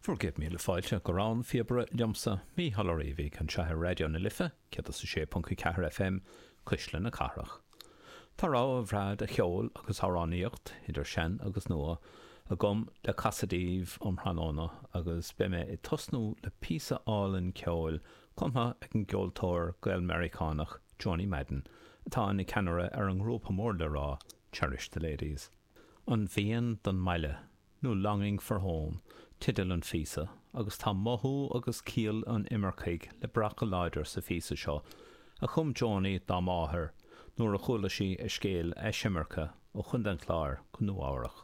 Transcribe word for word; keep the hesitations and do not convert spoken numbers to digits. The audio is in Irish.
Bhur gcéad míle fáilte go Rann Phíobaire liomsa, Mícheál Ó Riabhaigh, anseo ar Raidió na Life, céad is a sé ponc a ceathair FM, Cuisle na Cathrach. Tá rogha bhreá de cheol agus amhránaíocht, idir sean agus nua, agam le casadh daoibh um thráthnóna agus beidh mé ag tosnú le píosa álainn ceoil cumtha ag an gceoltóir Gael-Meiriceánach Joanie Madden, atá ina ceannaire ar an ngrúpa mór le rá Cherish the Ladies. An Mhian don mBaile, nó Longing for Home, teideal an phíosa, agus tá mothú agus ciall an imircigh le brath go láidir sa phíosa seo, a chum Joanie dá máthair nuair a chuala sí a scéal eisimirce ó Chontae an Chláir go Nua-Eabhrac.